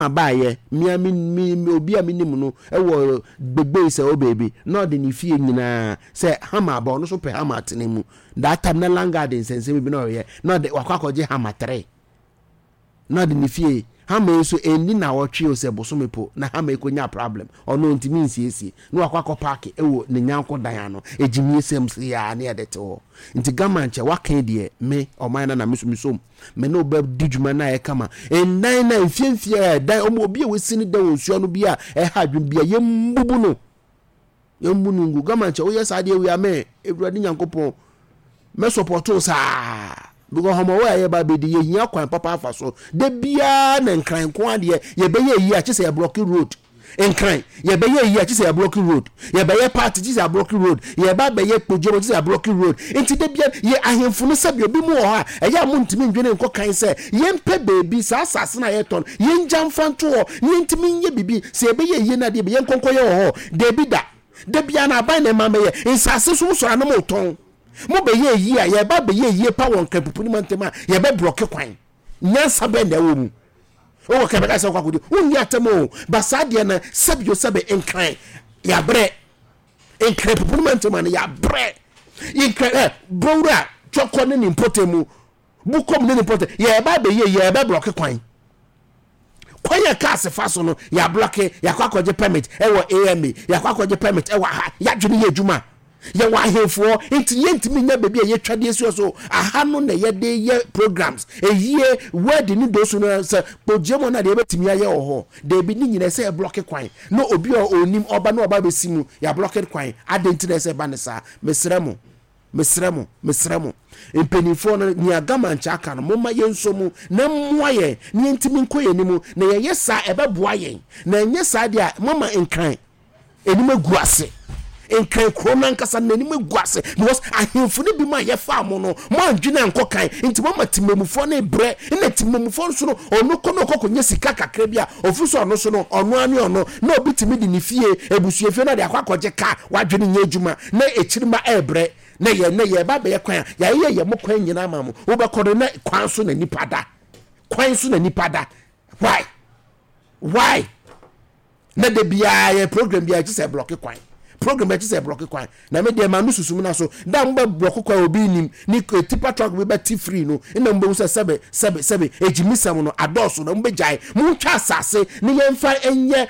baayɛ, mea me me obi a menim no wɔ Gbegbei sɛ o baabi, na ɔde ne fie nyinaa sɛ hama aba, ɔno nso pɛ hama atena mu. That time na landguard nsɛnsɛm bi na ɔyɛ, na ɔde wakɔ akɔgye hama tere. Na ɔde ne fie hama yi nso ɛnni nawɔtwe o sɛ bosome po na hama yi kɔnya problem, ɔno ɔntumi nsiesie, na wakɔ akɔ paake wɔ ne nyanko dan ano, ɛgyimie sɛm sei ara ne yɛde te hɔ. Nti Gama nkyɛ waka yi deɛ me ɔman no na me nso mesom. Me ne wo bɛdi dwuma no ayɛ kama. Ndan no a mfie mfie a ɛdan ɔmo obi a wasi ne dan wɔ nsuo ano bi a ɛha adwene bi a yɛmbubu no. Yɛmbu no ngu. Gama nkyɛ woyɛ saa deɛ wei a me Awurade Nyankopɔn mɛ support wo saa. Because hɔmɔwɔ a yɛba bɛdi yɛhia kwan papa afa so. Da biara na nkran nko adeɛ yɛbɛyɛ yie a kyɛ sɛ yɛblɔke road. Nkran, yɛbɛyɛ eyi a kyesɛ yɛablɔke road, yɛbɛyɛ party kyesɛ yɛablɔke road, yɛba abɛyɛ kpogyam kyesɛ yɛablɔke road. Nti da biara yɛ ahemfo no sɛdeɛ obi mu wɔ hɔ a ɛyɛ a montumi ndwene nkɔ kan sɛ yɛmpɛ baabi saa asase no a yɛtɔ no yɛngya mfa nto hɔ na yɛntumi nyɛ biribi sɛ yɛbɛyɛ ayie no adeɛ bi yɛnkɔ nkɔyɛ wɔ hɔ. Dabi da. Da biara no aban na ɛma mɛyɛ. Nsase nso mosɔre a na motɔn. Mobɛyɛ ayie a yɛba abɛyɛ ayie pa wɔ Nkran Pupuni mantam a yɛbɛblɔke kwan. Nyansa bɛn na ɛwɔ mu? Wowɔ kɛ bɛka sɛ wokɔ akɔdi wonni atɛm o ba saa deɛ no sɛbio sɛbe nkran yɛabrɛ nkran pupu no ma ntɛm ano yɛabrɛ nkran ɛ bowura twɔkɔ ne ne mpɔtam mu bukom ne ne mpɔtam yɛba abɛyɛ yɛbɛ blɔke kwan kwan yɛ cars fa so no yɛablɔke yɛakɔ akɔgye permit ɛwɔ AMA yɛakɔ akɔgye permit ɛwɔ aha yɛadwene yɛ adwuma Yɛwɔ ahenfoɔ nti yɛntumi nya baabi a yɛtwa de asi so. Aha no na yɛde yɛ programs. Eyie, wedding ne dosu no sɛ kpogye mu na deɛ yɛbɛtumi ayɛ wɔ hɔ. Daabi ne nyinaa ɛsɛ yɛblɔke kwan na obi a ɔnim ɔba na ɔba bɛsi mu yɛablɔke kwan. Adɛn nti na ɛsɛ ɛba ne saa? Mesrɛ mo, mesrɛ mo, mesrɛ mo. Mpanimfoɔ no, nea Gamankyɛ aka no, momma yɛnsɔ mu na mmoa yɛn na yɛntumi nkɔ yɛn anim. Na yɛyɛ saa a, ɛbɛboa yɛn. Na ɛnyɛ saa deɛ a, moama nkran anim agu ase. Nkran kuro no ankasa no n'anim agu ase because ahemfo no bi mu a yɛfaa mo no mo andwene ankɔ kan nti mo ama temamufoɔ no brɛ na temamufoɔ nso no ɔno kɔ no ɔkɔ kɔnya sika kakra bi a ɔfiri so ɔno so no ɔno ano ɔno na obi tumi de ne fie abusuafie no de akɔ akɔgye ka wadwene nyɛ adwuma na akyiri ma ɛrebrɛ na yɛ na yɛba bɛyɛ kwan a yɛayɛ yɛ mo kwan nyinaa ma mo wobɛkɔ no na kwan so na nipa da kwan so na nipa da why why Na da biara yɛ program biara kye sɛ blɔke kwan. Program biara kye sɛ blɔke kwan. Na me deɛ ma no susu mu na so da mo bɛ blɔke kwan obi nim ne tipa truck bi bɛ ti free no na mo bɛ hu sɛ sɛbe sɛbe sɛbe egyimisɛm no adɔɔso na mo bɛ gyae. Mo ntwa asase ne yɛn fa nyɛ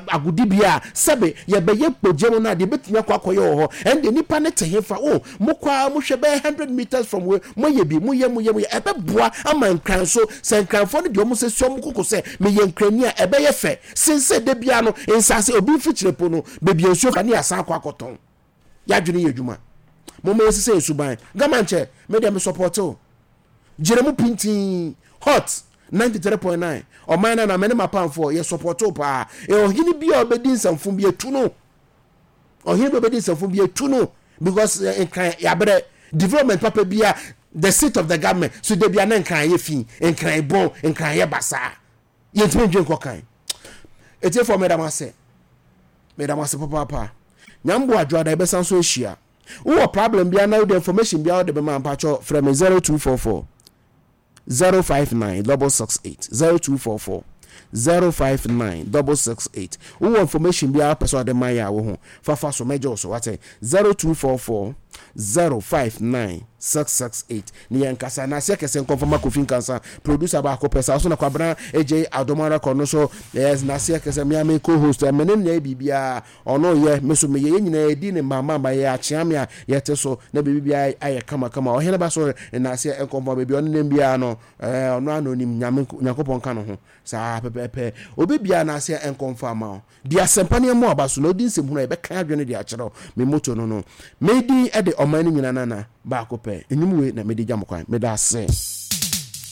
agodibea a sɛbe yɛ bɛ yɛ kpogye mo na deɛ bɛtumi akɔ akɔyɛ wɔ hɔ. Ɛnde nipa ne te he fa o mo kɔ ara mo hwɛ bɛyɛ 100 meters from wei mo yɛ bi mo yɛ mo yɛ mo yɛ ɛbɛ boa ama nkran so sɛ nkranfoɔ no deɛ ɔmo sɛ si ɔmo koko sɛ meyɛ nkrani a ɛbɛyɛ fɛ. Sen sɛ da biara no nsase obi mfikyire po no baabi a nsuo fa ne yɛasan akɔ akɔtɔn. Yɛadwene yɛ adwuma. Momma yɛnsesa yɛn suban. Gama nkyɛ, me deɛ me sɔpɔte wo. Gyina mu pintinn. Hot 93.9 Ɔman no anaa me ne m'apamfoɔ yɛ sɔpɔte wo paa. Ɔhene bi a ɔbɛdi nsɛmfo bi atu no. Ɔhene bi a ɔbɛdi nsɛmfo bi atu no because eh, nkran yɛabrɛ development papa bi a the seat of the government so da bi a na nkran yɛ fi, nkran bɔn, nkran yɛ basaa. Yɛntumi ndwen nkɔ kan. Etiefoɔ meda mo ase. Meda mo ase papaapa. Nyame boa adwoada yɛbɛsan so ahyia. Wowɔ problem biara na wode information biara wode bɛma mpakyɛ frɛ me 0244 059 668 0244 059 668. Wowɔ information biara pɛ sɛ ɔde ma yɛ a wo ho fafa so mɛgye wo so wate 0244 059 668 ne yɛn kasa na aseɛ kɛse nkɔmfɔ ma Kofi Nkansa producer baako pɛ saa so na Kwabena AJ Adom record no so yes na aseɛ kɛse me ame co-host me ne nyɛ biribiara ɔno yɛ me so meyɛ yɛn nyinaa yɛdi ne mama ma yɛ akyea me a yɛte so na biribiara ayɛ kama kama ɔhene ba so na aseɛ nkɔmfɔ baabi ɔne nam biara no ɔno ano nim nyame Nyankopɔn ka no ho saa pɛpɛpɛ obi biara na aseɛ nkɔmfɔ ama wo Di asɛmpa ne ɛmmɔ aba so, na odi nsɛmhunu a yɛbɛka adwene de akyerɛ wo. Me motto no no, Me din de ɔman no nyinaa nana baako pɛ. Nnwom wei na mede gya mo kwan. Meda ase.